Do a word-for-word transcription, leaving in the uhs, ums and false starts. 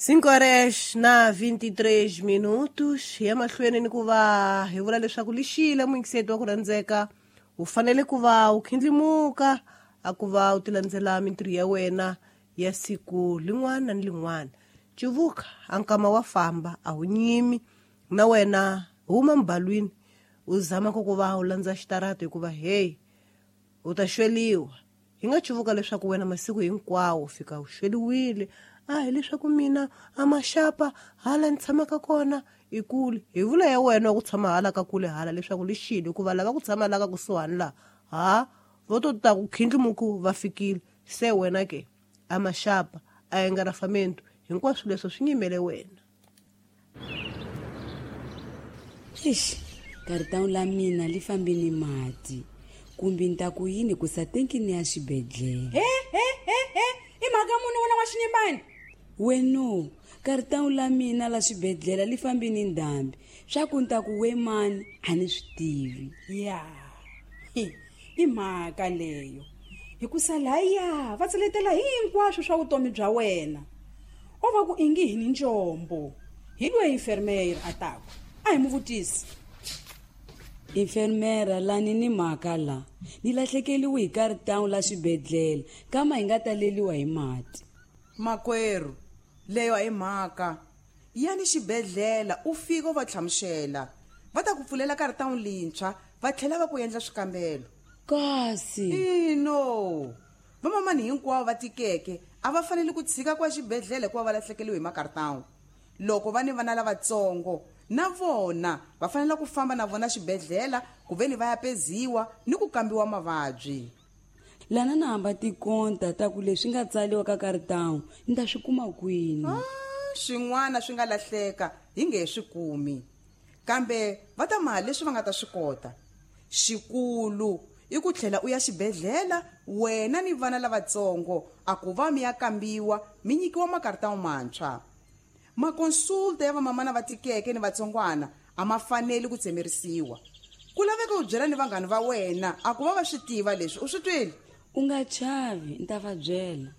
Cinco horas na vinte e três minutos. Hi ya mahlweni ni ku va hi vula leswaku lixile muyingiseti wa ku rhandzeka u fanele ku va u khindlimuka a ku va u ti landzela mintirho ya wena ya siku lin'wana ni lin'wana. Cuvuka a nkama wa famba a wu nyimi na wena huma mbalwini u zama ku ku va u landza xitarata hikuva hey u ta xweliwa. Hi nga cuvuka leswaku wena masiku hinkwawo fika u xweliwile. A hi leswaku mina a maxapa hala ni tshamaka kona i kule. Hi vula ya wena wa ku tshama hala ka kule hala leswaku lixile hikuva lava ku tshama la ka kusuhani laha ha vo to ta ku khindlimuku va fikile. Se wena ke a maxapa a engarafamento hinkwaswo leswo swi nyimele wena. Eish, karitawu la mina li fambi ni mati. Kumbe ni ta ku yini ku sa tenkini ya xibedhlele. He he he he, i mhaka muni wena wa xinyimbani? Weno, karitawu la mina la xibedhlele li fambi ni ndhambi. Swa ku ni ta ku we mani a ni swi tivi. Ya. Hi, i mhaka leyo. Hikusa laya va tseletela hinkwaswo swa vutomi bya wena. O va ku ingi hi ni njombo. Hi loyi enfermeira a taku. A hi mu vutisi. Enfermera lani ni mhaka la. Ni lahlekeliwe hi karitawu la xibedhlele kama hi nga taleliwa hi mati. Makwerhu, leyo a hi mhaka. Yani xibedhlele u fika u va hlamusela. Va ta ku pfulela karitawu lintshwa va tlhela va ku endla swikambelo. Kasi ino vamamani hinkwavo va tikeke a va fanele ku tshika kwa xibedhlele hikuva va lahlekeliwe hi makaritawu. Loko va ni vana lavatsongo na vona va fanele ku famba na vona xibedhlele ku ve ni va ya peziwa ni ku kambiwa mavabyi. Lana na hamba tikonta ta ku leswi nga tsaliwa ka karitawu ni ta swi kuma kwini? Ah, swin'wana swi nga lahleka hi nge he swi kumi, kambe va ta maha leswi va nga ta swi kota. Xikulu i ku tlhela u ya xibedhlele wena ni vana lavatsongo a ku va mi ya kambiwa mi nyikiwa makaritawu mantshwa. Makonsulta ya vamamana va tikeke ni vatsongwana a ma faneli ku tsemerisiwa. Ku laveka u byela ni vanghani va wena a ku va va swi tiva leswi u swi twile. U nga chavi, ni ta va byela.